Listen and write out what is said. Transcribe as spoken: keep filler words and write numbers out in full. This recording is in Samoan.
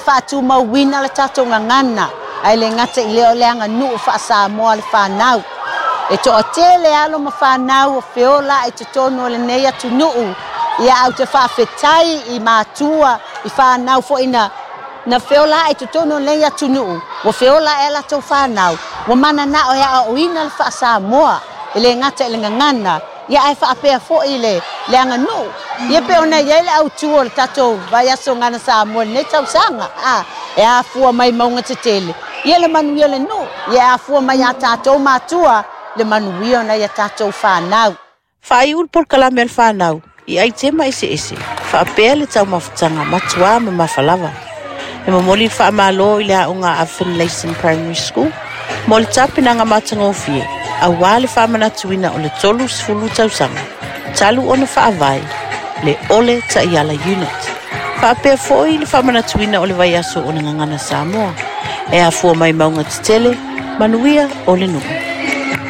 Faatumauina le tatou gagana, ae le gata i lea o le aganuu faa-Samoa le fanau. E toatele alo ma fanau o feola i totonu o lenei atunuu. Ia au te faafetai i matua, i fanau foi na na feola i totonu o lenei atunuu, ua feola e latou fanau, ua mananao e aoaoina le faa-Samoa, e le gata i le gagana, ia ae faapea foi le, le aganuu. Ia pe ona i ai le autu o le tatou vaiaso Gagana Samoa i lenei tausaga. A, e afua mai mauga tetele, ia le manuia o le nuu, ia e afua mai ia tatou matua, le manuia o nai a tatou fanau. Faaiu le polokalame a le fanau i aitema eseese, faapea le taumafataga matuā mamafa lava. E momoli le faamalo i le aoga a Finlayson Primary School mo le tapenaga matagofie, auā le faamanatuina o le tolu sefulu tausaga talu ona faavae le Ole Taiala Unit. Faapea foi le faamanatuina o le vaiaso o le Gagana Samoa. E afua mai mauga tetele, manuia o le nuu.